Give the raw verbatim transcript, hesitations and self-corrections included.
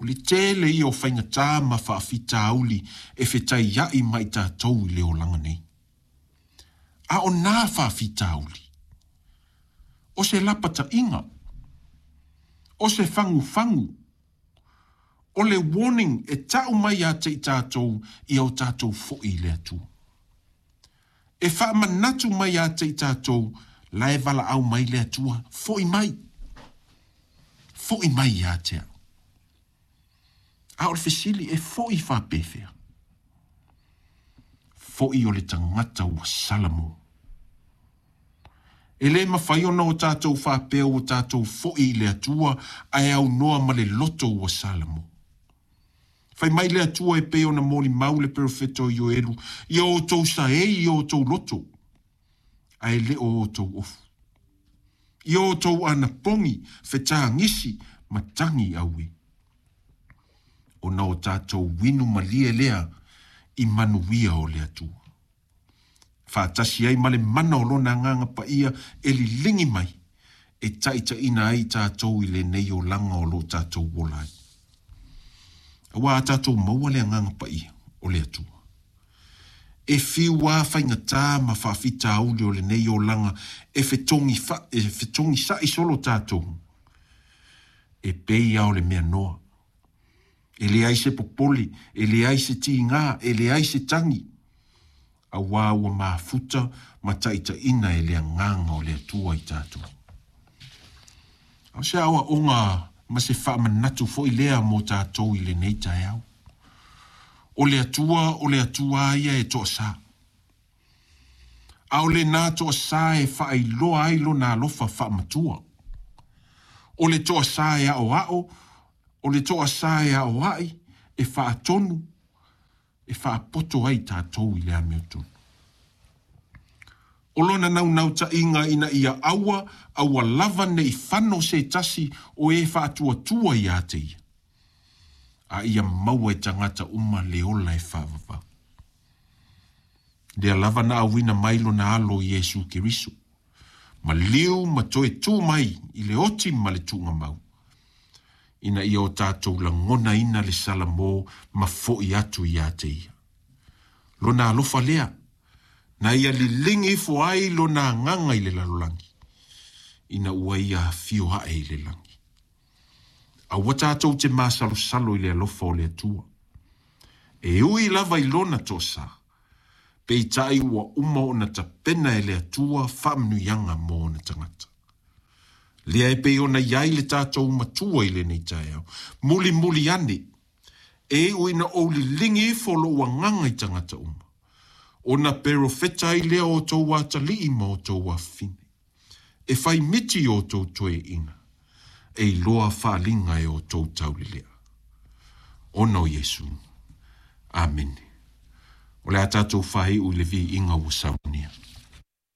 O le tele ia o faigata ma faafitauli e fetaiai ma i tatou i le olaga nei. A o nā faafitauli, o se lapataiga, o se fagufagu, o le warning e tau mai ia te i tatou ia o tatou foi i le Atua. E faamanatu mai ia te i tatou la e valaau mai le Atua, foi mai, foi mai ia te au. A o le fesili e foi faapefea. Foi o le tagata ua salamo. E le mafai ona o tatou faapea ua tatou foi i le Atua ae aunoa ma le loto ua salamo. Fai mai le Atua e pei ona molimau le perofeta o Ioelu, ia outou saei i outou loto, ae le o outou ofu. Ia outou anapogi, fetagisi ma tagi aue. Ona o tatou inu malie lea i manuia o le Atua. Faatasi ai ma le mana o lona agaga paia e liligi mai, e taitaiina ai tatou i lenei olaga o lo tatou ola ai. Aua a tatou maua le agaga paia o le Atua. E fiu lava faigata ma faafitauli o lenei olaga e fetogi fa, e fetogi sa'i solo tatou. E pei lava o le mea noa. E leai se popole, e leai se tiga, e leai se tagi. Aua ua mafuta ma taitaiina e le agaga o le Atua i tatou. A o se aoaoga ma se faamanatu foi lea mo tatou i lenei taeao. O le Atua, o le Atua ia e toasa. A o lena toasa e faailoa ai lona alofa faamatua. O le toasa e aoao, o le toasa e aoai, e faatonu, e faapoto ai tatou i le amiotonu. O lona naunautaiga ina ia aua, aua lava nei fano se tasi o e faatuatua ia te ia. A ia maua e tagata uma le ola e faavavau. Lea lava na auina mai lona alo i Iesu Keriso. Ma liu ma toe tu mai i le oti ma le tuugamau. Ina ia o tatou lagonaina le salamo ma foi atu ia te ia. Lona alofa lea, na ia liligi ifo ai lona agaga i le lalolagi, ina ua ia afio ae i le lagi. Aua tatou te masalosalo i le alofa o le Atua. E ui lava i lona toasa, peitai ua uma ona tapena e le Atua faamanuiaga mo ona tagata. Lea e pei ona i ai le tatou matua i lenei taeao. Mulimuli ane, e iu ina ou liligi ifo lou agaga i tagata uma. Ona perofeta ai lea o outou atalii ma outou afafine. E fai miti i outou toeaiina, e iloa faaaliga e outou taulelea. Ona o Iesu. Amene. O le a tatou faaiu i le viiga ua saunia.